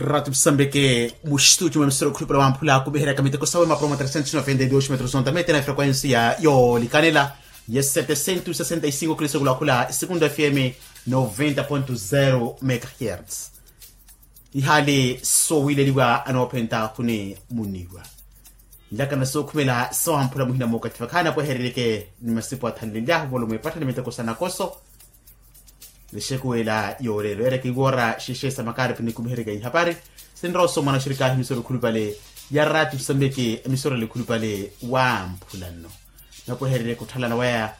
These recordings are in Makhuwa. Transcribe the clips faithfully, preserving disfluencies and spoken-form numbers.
Ratu musambike muxituti mwa emisoro khulupela wamphula kumiheryaka miteko sawe mapuro mwa trecentos noventa y dos metros ontamete na frequencia yoolikanela ya setecentos sesenta y cinco kilisokulakhula esekundu fm noventa ponto zero megahertz. Ihaali soowileliwa anoophenta khuni muniwa nlakana sookhumela sawamphula muhina mookatthi vakhaana pweherereke ni masipu athanlelyahu volomo epattha ni miteko sa nakoso. Nixekuwela yooreero ereke iwoora xexe sa makaripi nikumihereke ihapari sinrowa osomana oxirikaahi emisoro khulupale ya rati musambiki emisoro elikhulupale wamphula nno napweherereke otthalana waya.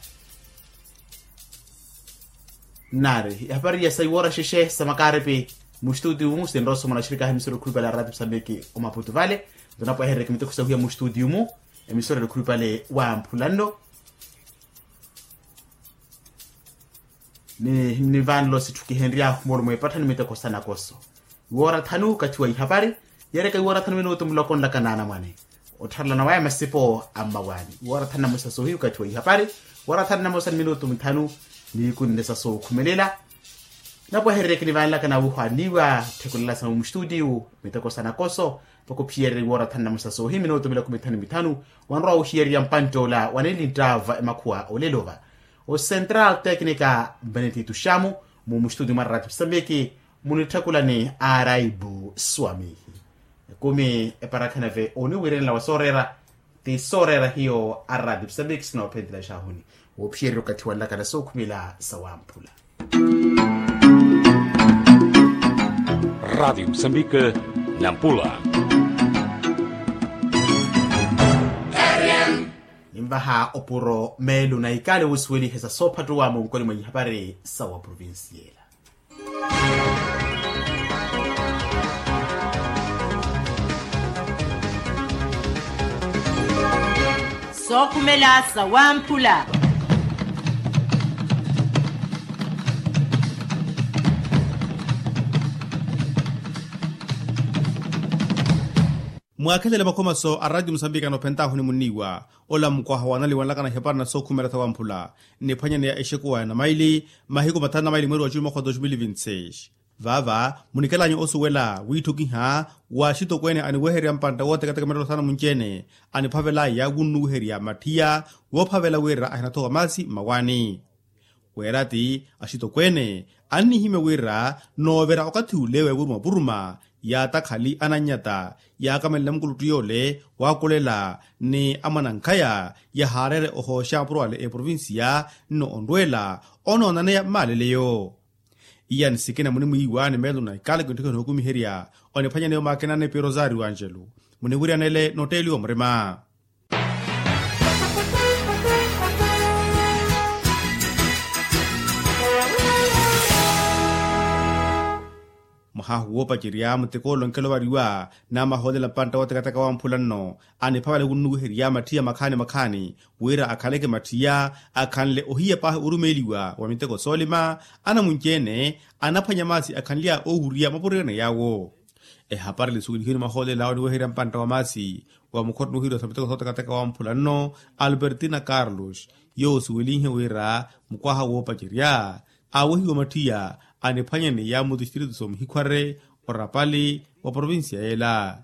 Nari ihapari ya saiwoora xexe sa makaripi muxituti umu sinrowa osomana oxirikaahi emisoro khulupale ya rati musambiki omaputu vale. Nto napweherereke miteko sawihiya muxituti umu emisoro elikhulupale wamphula nno. Ni nivanlo sitthu kihenry'ahu moolumo epattha ni miteko sa nakoso iwoora thanu okathi wa ihapari. Yeereka iwoora thanu minutu muloko nlaka naanamwane ottharelana waya masipo a mmawaani iwoora thanu na mosa soohi okathi wa ihapari. Iwoora thanu na mosa ni minutu mithanu ni ikunne sa sookhumelela. Napweherereke nivanlaka na wuhwaaniwa tthekulelasa muxituti wu miteko sa nakoso. Mpakha ophiyererya iwoora thanu na mosa soohi minutu miloko mithanu mithanu wanrowa wuhiyererya mpantt'ola waneli nttaava emakhuwa olelova. Ocentral tecnica benedito xamu mu muxituti mwa rati musambiki munitthekulani araibu swamihi. Ekumi eparakhaneve oniwiirenela wa sooreera ti sooreera hiyo a rati musambiki sinoophentelexahuni woophiyererya okathi wanlakala sookhumela sawamphula. Rati musambiki nampula. Ninvaha opuro meelo na ikale wusuwelihe sa soophattuwa munkoni mwa ihapari sa wa provincia ela. Sookhumela sawamphula. Mwaakhelele makhomaso a rati musambiki anoophentaahu onimunniwa ola mukwaha wanaliwa nlakana ihepara na sookhumela sawamphula. Nniphwanyaneya exekuwa ya namaili mahiku mathanu na maili mweeri wa juni mwakha wa dos mil vinti seis. Vaava munikelanyu osuwela wiitthukiha wa axitokweene aniwehererya mpantta wootekateka mittelo saana munci-ene aniphavelaya wunnuwiherya mattiya woophavela wira ahinathowa maasi mmawaani. Weera ti axitokweene annihimya wira noovira okathi ule wevuruma vuruma yaatakhali anannyata yaakamanle mukuluttu yoole waakulela ni amwanankhaya yahaareere ohooxa mapuro ale eprovincia nno onrweela onoonaneya maaleleyo. Iya ni sikina munimwiiwa ni meelo na ikale kintthukha nookumiherya oniphwanyaneya omaakina ni pirosario angelo muniwiryanele notteeliwa murima. Mwahahu woopacerya muteko ole onkelovariwa namahoolela mpantta wootekateka wamphula nno aniphavale wunnuwiherya mattiya makhaani makhaani wira akhaleke mattiya akhanle ohiya paahi orumeeliwa wa miteko soolima anamunci-ene anaphwanya maasi akhanly'aya oohurya mapuro ene yaawo. Ehapari lisuwelihiwe ni mahoolela awo oniweherya mpantta wa maasi wa mukhotto nuhiriwa sa miteko sootekateka wamphula nno albertina carlos yoowo osuwelinhe wira mukwaha woopacerya aawehiwa mattiya aniphwanyaneya mutistiritu soomuhikhware orapali wa provincia yeela.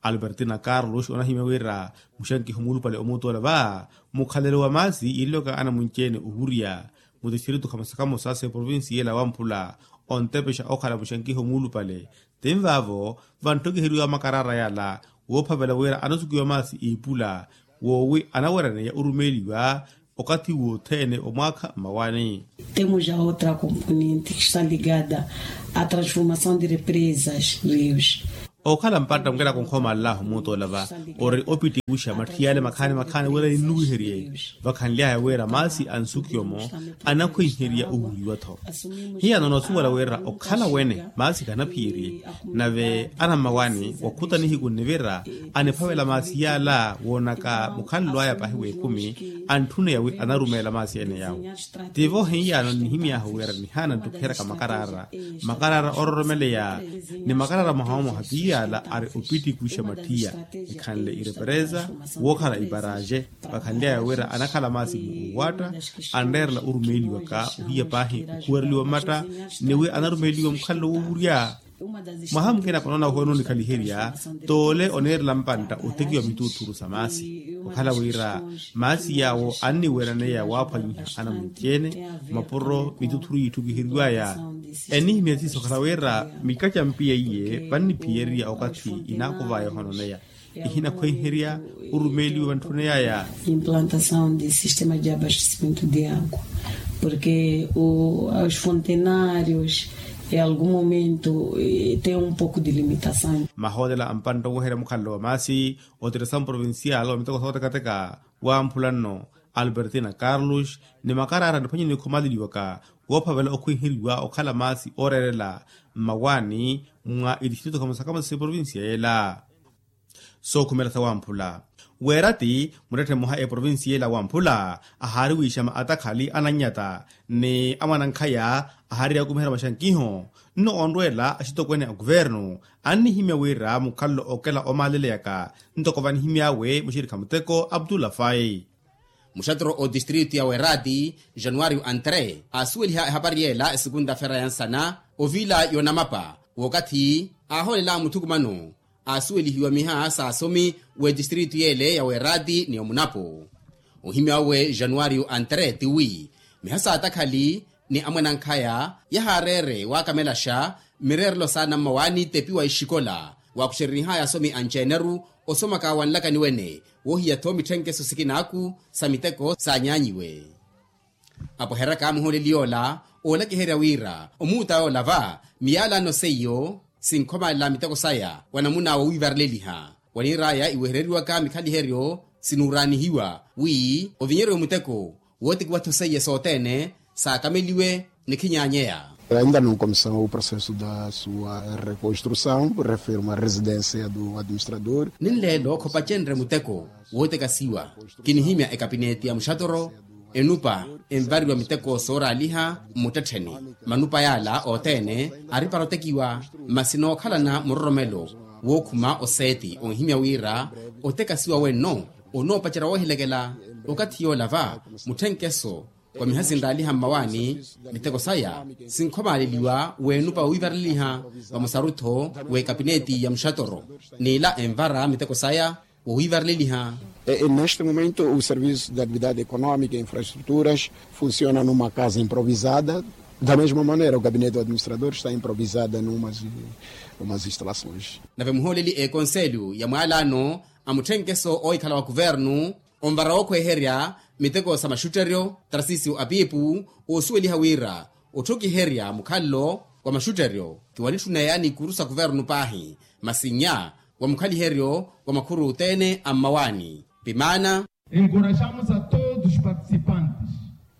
Albertina carlos onahimya wira muxankiho muulupale omuutola va mukhalelo wa maasi iiloka anamunci-ene ohurya mutistiritu khamosa khamosa sa eprovincia yeela wamphula ontepexa okhala muxankiho muulupale. Tinvaavo vanttokiheriwa makarara yala woophavela wira anasukiwa maasi iipula woowi anawereneya orumeeliwa okathi wothene omwaakha mmawaani. Temos a outra componente que está ligada à transformação de represas rios. Okhala mpatta mukela konkhomallahu muutoola va ori opittikusha matthiyale makhaani makhaani wira ninnuwiherye vakhanly'aya wira maasi ansukiwa-mo anakhwenherya owuuriwa-tho. Hiyano noosuwela wira okhala wene maasi khanaphiyerye nave anammawaani wakhutanihiku nnivira aniphavela maasi yaala woonaka mukhanlo aya paahi w'ekhumi antthuneya wi anarumeela maasi ene yaawo. Tivo hiyano nnihimy'ahu wira nihaana nttukiheryaka makarara makarara ororomeleya ni makarara mwaha mwaha ti yaala ari opittikusha mattiya ekhanle irepereza wookhala iparaje. Vakhanly'aya wira anakhala maasi mu owatta anreerela orumeeliwaka ohiya paahi okhuwereliwa mmatta ni wi anarumeeliwa mukhalelo wowurya. Mwaha mukina panoona ohoona onikhaliherya, t'ole oneerela mpantta otekiwa mituuthuru sa maasi. Okhala wira maasi yaawo anniweeraneya waaphwanyiha anamwinci-ene mapuro mituuthuru yiitthukiheriwaya. Ennihimya siiso okhala wira mikaca mpiya iye vanniphiyererya okathi inaakovaya ohoononeya. Ihinakhwenherya orumeeliwe vantthuneyaya. Implantação de sistema de abastecimento de água, porque os fontenários em algum momento tem um pouco de limitação. Mahootela a mpantta oweherya mukhalelo wa maasi otiresamu provincial wa miteko sootekateka wamphula nno albertina carlos ni makaraara niphwanyeni khumaaleliwaka woophavela okhwenheriwa okhala maasi ooreerela mmawaani mwa itixitu thakamosakamo sa provincia yela. Sookhumela sawamphula weerati muttetthe mmoha eprovinsi yeela wamphula ahaari wiixama atakhali anannyata ni amwanankhaya ahaari yakumiherya maxankiho nno onrweela axitokwene a kuvernu annihimya wira mukhalelo okela omaaleleyaka ntoko vanihimy'awe muxirikha muteko abdullah fai. Muxaturo otistritu ya werati januario antre aasuweliha ehapari yeela esukunta fera ya nsana ovila yonamapa wookathi aahoolela muthukumano aasuwelihiwa miha saasomi w'etistritu yeele ya werati ni omunapo. Ohimya wawe januario antre tiwi miha saatakhali ni amwanankhaya yahaareere waakamelaxa mmireerelo saana mmawaani tepi wa ixikola waakuxerenihaya asomi anci-eneru osomaka wa nlakani wene woohiya-tho mitthenkeso sikinaaku sa miteko saanyaanyiwe. Apweheryaka muhooleli yoola oolakiherya wira omuuta yoola va miyaalaano seiyo sinkhomaalela miteko saya wa namuna wowiivareleliha waniir'aya iwehereriwaka mikhaliheryo sinuuraanihiwa wi ovinyeryo muteko wootekiwa-tho seiye sothene saakameliwe ni khinyaanyeya. Ainda não começou o processo da sua reconstrução, refiro uma residência do administrador. Ninleelo khopacenre muteko wootekasiwa kinihimya ekapineti ya muxatoro enupa envariwa miteko sooraaliha mmuttettheni manupa yaala othene aripara otekiwa masi nookhalana muroromelo wookhuma oseeti onhimya wira otekasiwa wenno onoopacerya woohilekela okathi yoola va mutthenkeso wa miha sinraaliha mmawaani miteko saya sinkhomaaleliwa weenupa wowiivareleliha vamosaru-tho w'ekapineti ya muxatoro n'ila envara miteko saya wowiivareleliha. Neste momento o serviço de atividade económica e infraestruturas funciona numa casa improvisada. Da mesma maneira o gabinete do administrador está improvisada numas numas instalações. Nave muhooleli ekonselho ya mwaalaano a mutthenkeso oohikhala wa kuvernu onvara wookhweherya miteko sa maxutteryo tarsisio apiipu oosuweliha wira otthokiherya mukhalelo wa maxutteryo tiwanitthuneya ni ikuru sa kuvernu paahi masi nnya wa mukhaliheryo wa makhuru othene a mmawaani pimaana. Encorajamos a todos os participantes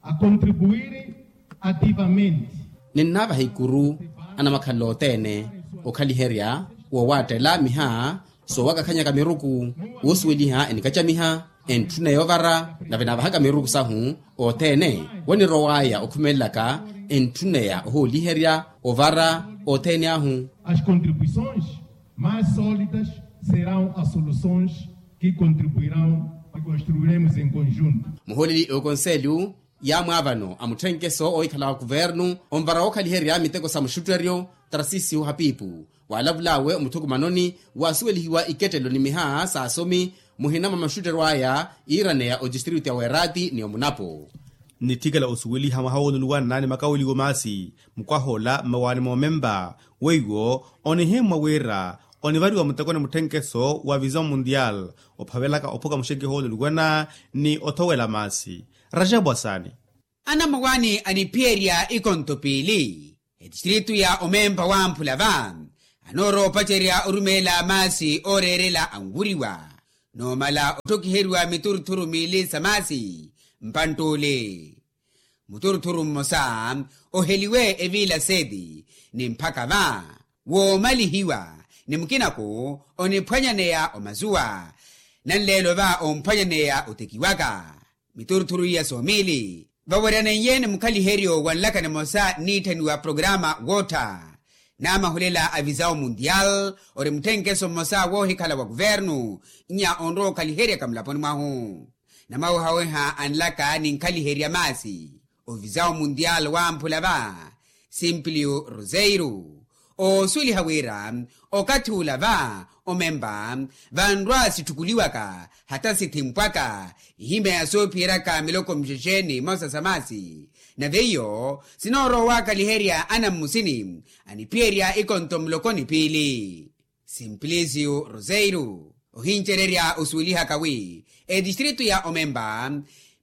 a contribuir ativamente. Ninnaavaha ikuru anamakhalelo othene okhaliherya woowaattela miha soowakakhanyaka miruku woosuweliha enikacamiha entthuneya ovara nave naavahaka miruku sahu othene wanirowaya okhumelelaka entthuneya ohooliherya ovara othene ahu. As contribuições mais sólidas serão as soluções que contribuirão e construiremos em conjunto. Muhooleli okonselho yaamwaavano a mutthenkeso oohikhala wa kuvernu onvara wookhaliherya miteko sa muxutteryo tarsisio hapiipu waalavul'awe omuthukumanoni waasuwelihiwa ikettelo ni miha saasomi muhina mwa maxutteryo aya iiraneya otistritu ya werati ni omunapo. Nitthikela osuweliha mwaha woonuluwanna ni makaweliwo maasi mukwah'ola mmawaani moomempa weiwo onihimmwa wira onivariwa mutekoni mutthenkeso wa vision mundial ophavelaka ophuka muxenkeho woonuluwana ni othowela maasi. Rajabu asaani. Anamwawaani aniphiyerya ikonto piili etistritu ya omempa wamphula va anoorowa opacerya orumeela maasi ooreerela anwuriwa noomala otthokiheriwa mituruthuru miili sa maasi mpantt'ule. Muturuthuru mmosa oheliwe eviila seeti ni mphaka va woomalihiwa ni mukinako oniphwanyaneya omazuwa nanleelo va omphwanyaneya otekiwaka. Mituruthuru iya soomili vaweryaneiye ni mukhaliheryo wa nlaka nimosa nniitthaniwa programa woottha naamahulela a visao mundial ori mutthenkeso mmosa woohikhala wa kuvernu nnya onrowa okhaliheryaka mulaponi mwahu. Namawehaweha a nlaka ni nkhaliherya maasi ovisao mundial wamphula va simplio roseiro Oosuweliha wira okathi ula va omempa vanrwa sitthukuliwaka hata sithimpwaka ihimya ya soophiyeryaka miloko mixexe ni mosa sa maasi. Nave iyo sinoorowa owaakaliherya anammusini aniphiyerya ikonto muloko ni piili. Simplisiyo roseiro ohincererya osuwelihaka wi etistritu ya omempa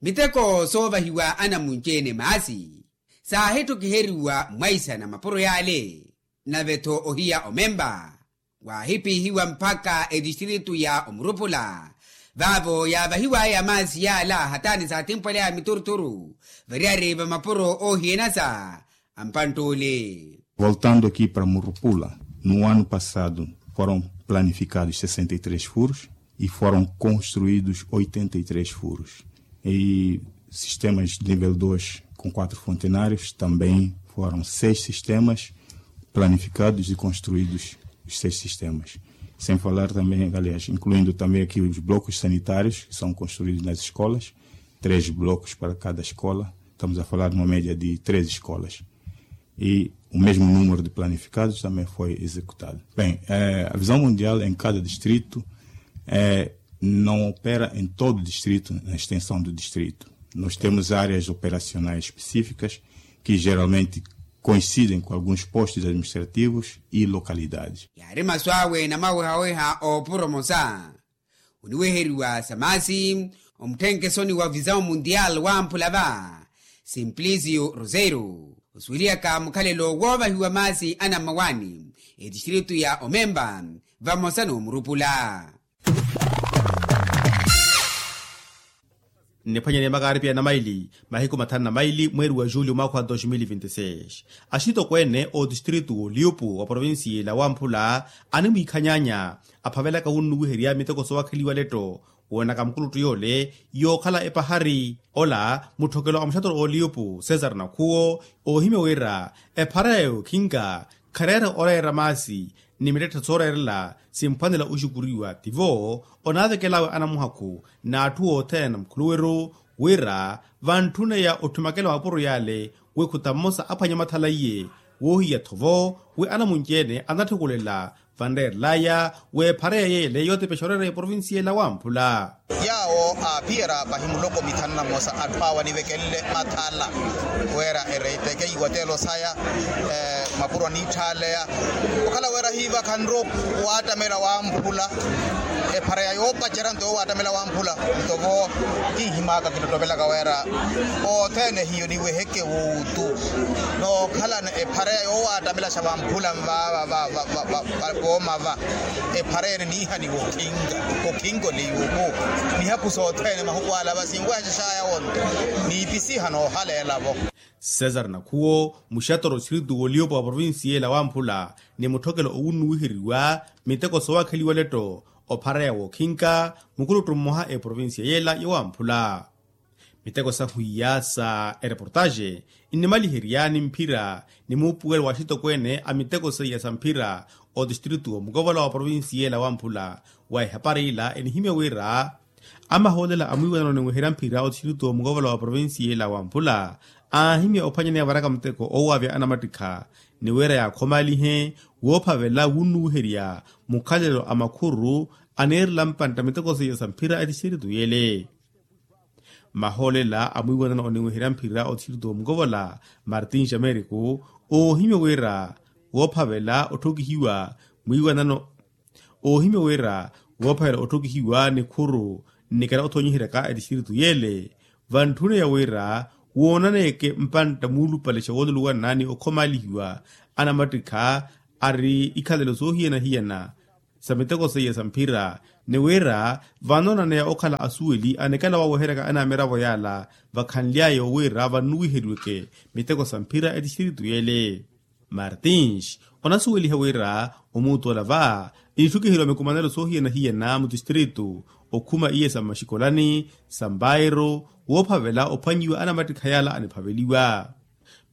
miteko soovahiwa anamunci-ene maasi saahitthukiheryiwa mwaisana mapuro yaale. Nave-tho ohiya omempa waahipiihiwa mpakha etistritu ya omurupula vaavo yaavahiwaya maasi yaala hataani saatimpwaleya mituruturu variyari va mapuro oohiyanasa a mpantt'ule. Voltando aqui para murupula, no ano passado foram planificados sessenta e três furos e foram construídos oitenta e três furos. E sistemas de nível dois com quatro fontenários também foram seis sistemas planificados e construídos os seis sistemas. Sem falar também, aliás, incluindo também aqui os blocos sanitários que são construídos nas escolas, três blocos para cada escola. Estamos a falar de uma média de três escolas. E o mesmo número de planificados também foi executado. Bem, eh, a visão mundial em cada distrito eh, não opera em todo o distrito, na extensão do distrito. Nós temos áreas operacionais específicas que geralmente coincidem com alguns postos administrativos e localidades. Yaari masu awe na mawehaweha oopuro mosa oniweheriwa sa maasi omutthenke soni wa visão mundial wamphula va simplisiyo roseiro osuwelihaka mukhalelo woovahiwa maasi anammawaani etistritu ya omempa vamosa n'omurupula. Nniphwanyeni makaaripi ya namaili mahiku mathanu na maili mweeri wa julio mwaakha wa dos mil vinti seis, axitokweene otistritu w'oliupu wa provincia ela wamphula animwiikhanyaanya aphavelaka wunnuwiherya miteko soowakheliwa letto woonaka mukuluttu yoole yookhala epahari. Ola mutthokelo a muxatoro oliupu cesar nakhuwo oohimya wira ephara ya yookhinka khareera oreera maasi ni mittetthe sooreerela simphwanela oxukuriwa tivo onaavekel'awe anamuhakhu n'atthu othene na mukhuluweru wira vantthuneya otthumakela mapuro yale wi khuta mmosa aphwanya mathala iye woohiya-tho vo wi anamunci-ene anathukulela vanreerel'aya w'ephareya yeele yootepexa oreera eprovincia ela wamphula. Yaawo aaphiyerya pahi muloko mithanu na mmosa atthu awo anivekenle mathala wira ereiteke iwatelo saya mapuro aniitthaleya okhala wira hiivakhanru waattamela wamphula ephareya yoopacerya nto yoowaattamela wamphula nto vo kinhimaka kinottopelaka wira othene hiyo niweheke wuutu nookhalana ephareya yoowaattamelaxa vamphula nvaava vooma va ephareya ene niihaniwa okhinka okhinka oliyuuku mihaku sothene mahuku ala va sinwehaxaxaya wonto niipisiha noohaleela vo. Cesar nakhuwo muxatoro oxiritu w'oliyopo wa provincia ela wamphula ni mutthokelo owunnuwiheriwa miteko soowakheliwa letto ophareya wookhinka mukuluttu mmoha eprovincia yela yowamphula miteko sahwiya sa ereportaxe nnimaliherya ni mphira ni muupuwelo wa axitokweene a miteko seiya sa mphira otistritu omukovola wa provincia ela wamphula wa ehapari ila enihimya wira amahoolela a mwiiwanano oniweherya mphira otistritu omukovola wa provincia ela wamphula aahimya ophwanyaneya varaka muteko oowavya anamattikha ni wira yaakhomalihe woophavela wunnuwiherya mukhalelo a makhuru aneerela mpantta miteko seiya sa mphira etistritu yele. Mahoolela a mwiiwanano oniweherya mphira otistritu omukovola martin xameriku oohimya wira woophavela otthukihiwa mwiiwanano oohimya wira woophavela otthukihiwa ni khuru nnikela othoonyiheryaka etistritu yele vantthuneya wira woonaneyeke mpantta muulupalexa wooluluwana ni okhomalihiwa anamattikha ari ikhalelo soohiyana-hiyana sa miteko seiya sa mphira ni wira vanoonaneya okhala asuweli anikela waweheryaka anamiravo yala vakhanly'aya wira vannuwiheriweke miteko sa mphira etistritu yele. Martins onasuweliha wira omuutu ola va initthukiheryiwa mikumanelo soohiyana-hiyana mutistritu okhuma iye sa mmaxikolani sa mbairo woophavela ophwanyiwa anamattikha yala aniphaveliwa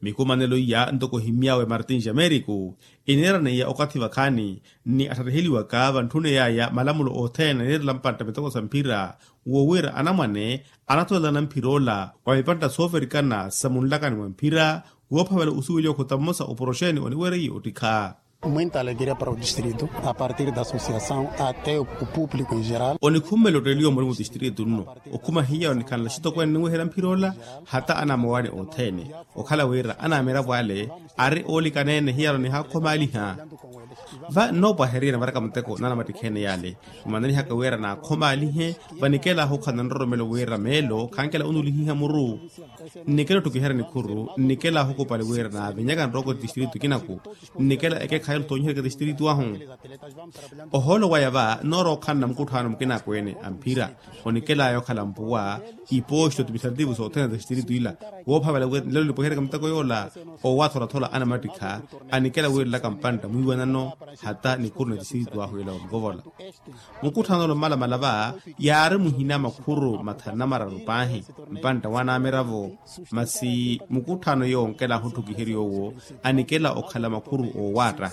mikumanelo iya ntoko ohimy'awe martin xameriku eneeraneya okathi vakhaani ni atthattiheliwaka vantthuney'aya malamulo othene aneerela mpantta miteko sa mphira wo wira anamwane anatolelana mphir'ola wa mipantta sooverikana sa munlakani mwa mphira woophavela osuweliwa okhota mmosa oporoxeni oniwereiye ottikha Muinta alegria para o distrito a partir da associação até o público em geral. Onikhummela otteliwa muri mutistrito nno, okhuma hiya onikhanla xitokweene ninweherya mphira ola, hata anamowani othene, okhala wira anamiravo ale ari oolikaneene hiyano nihakhomaaliha. Va nnoopwaherya navaraka muteko nanamattikheene yale, mmananihaka wira naakhomaalihe. Vanikela ahukhala nanroromelo wira meelo khankela onulihiha muru. Nnikela otthukiherya nikhuru, nnikela ahukupali wira naavinyaka nrooko tistrito kinaku, nnikela ekekhayi otthoonyiherya tistrito ahu. Ohoolo waya va noorookhanna mukutthaano mukinakweene a mphira, onikelaya okhala mpuwa iposto timisarativu sothene za tistrito ila, woophavela wira nlelo nipweheryaka muteko yoola. Owaatholathola anamattikha anikela wiirelaka mpantta mwiiwanano, hata nikhuru na tistrito ahu ila omukovola. Mukutthaano ole omalamala va yaari muhina makhuru mathanu na mararu paahi, mpantta wanamiravo. Masi mukutthaano yoonkela ahutthukiherya owo anikela okhala makhuru oowaatta.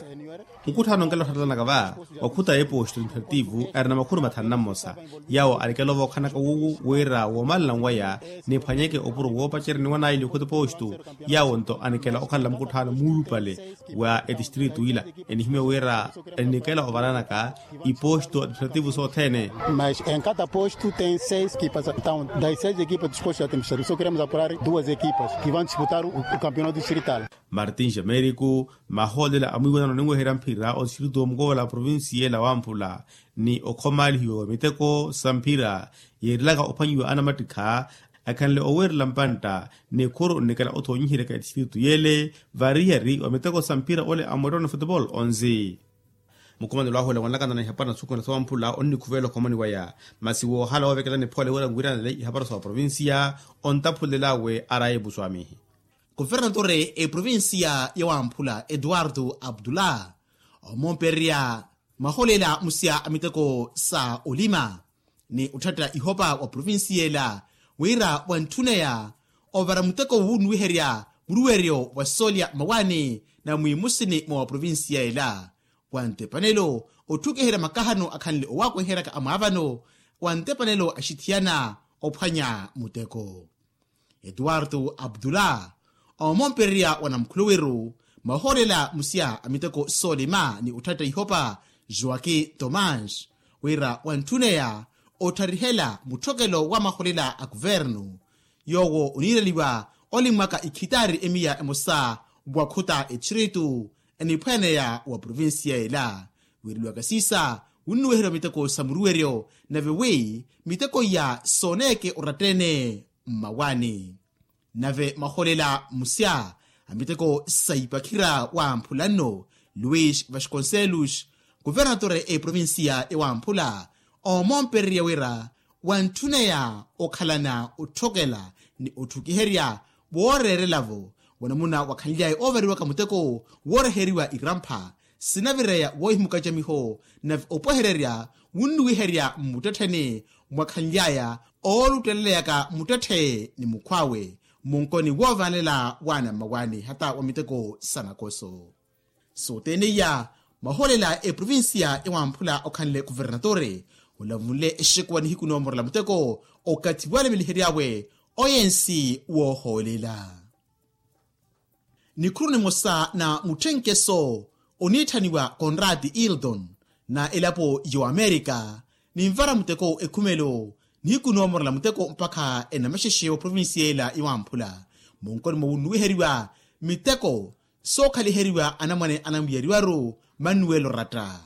Mukutthaano onkela otthattalanaka va wakhuta eposto administrativo arina makhuru mathanu na mmosa, yawo anikela ovookhanaka wuwu wira woomalana nwaya niphwanyeke opuro woopacerya niwanaili okhuta eposto. Yawo nto anikela okhalela mukutthaano muulupale wa etistrito ila, enihimya wira ennikela ovalanaka iposto administrativo sothene. Mas em cada posto tem seis equipas, então das seis equipas dos postos administrativos só queremos apurar duas equipas que vão disputar o campeonato distrital. Martin jamerico, mahoolela a mwiiwanano ninweherya mphira otistrito omukovola provincia ela wamphula, ni okhomaalihiwa wa miteko sa mphira yeerilaka ophwanyiwa anamattikha, akhanle oweerela mpantta nikhuru nnikela othoonyiheryaka etistrito yele variyari wa miteko sa mphira ole a mwettoni futebol onzi. Mukhumanelo ahu ole wanlakana na ihapara na suku na sowamphula onnikhuvelela okhomani waya, masi woohala woovekela niphole wira nwiranele ihapara sa oprovincia, ontaphulel'awe araya epusu amihi. Kuvernatore eprovincia ya wamphula eduardo abdullah, omompererya maholela musya a miteko sa olima ni otthatta ihopa wa provincia ela, wira wantthuneya ovara muteko wunnuwiherya muluweryo wa soolya mawani na mwiimusini mwa wa provincia ela, wa ntepanelo otthukiherya makahano akhanle owaakweheryaka amwaavano, wa ntepanelo axithiyana ophwanya muteko. Eduardo abdullah, omompererya wa namukhulowiru mahoolela musya a miteko soolima ni otthatta ihopa joaquin tomas, wira wantthuneya ottarihela mutthokelo wa mahoolela a kuvernu, yoowo oniireliwa olimmwaka ikhitaari emiya emosa wakhuta etistiritu eniphweeneya wa provincia ela, wiireliwaka siisa wunnuwiherya miteko sa muruweryo, nave wi miteko iya sooneeke oratta-ene mmawani. Nave mahoolela musya a miteko sa ipakhira wamphula nno luis vasconcelos, kuvernatore eprovincia ewamphula, omompererya wira wantthuneya okhalana otthokela ni otthukiherya wooreerela-vo wanamuna wakhanly'aya oovariwaka muteko wooreheriwa irampha sinavireya woohimukacamiho, nave opwehererya wunnuwiherya mmuttettheni mwakhanly'aya oolutteleleyaka muttetthe ni mukhw'awe munkoni woovanelela waana mmawani hata wa miteko sa nakoso. Sothene iya mahoolela eprovincia ewamphula okhanle kuvernatore olavunle exekuwa nihiku noomorela muteko okathi walemeliheriawe oyensi woohoolela. Nikhuru nimosa na mutthenkeso oniitthaniwa conrad hildon na elapo y'oamerika, ninvara muteko ekhumelo nihiku noomorela muteko mpakha enamaxexe wa provincia ela iwamphula munkoni mwa wunnuwiheriwa miteko sookhaliheriwa anamwane anamwiyeriwaru manuwelo ratta.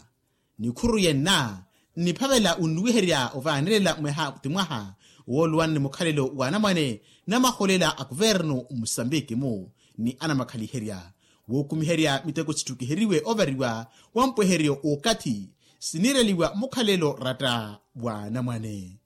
Nikhuru yenna nniphavela wunnuwiherya ovaanelela mwaha ti mwaha wooluwani ni mukhalelo w'anamwane na mahoolela a kuvernu mmusambiki-mu ni anamakhaliherya wookumiherya miteko sitthukiheriwe ovariwa wa mpweheryo w'okathi siniireliwa mukhalelo ratta w'anamwane.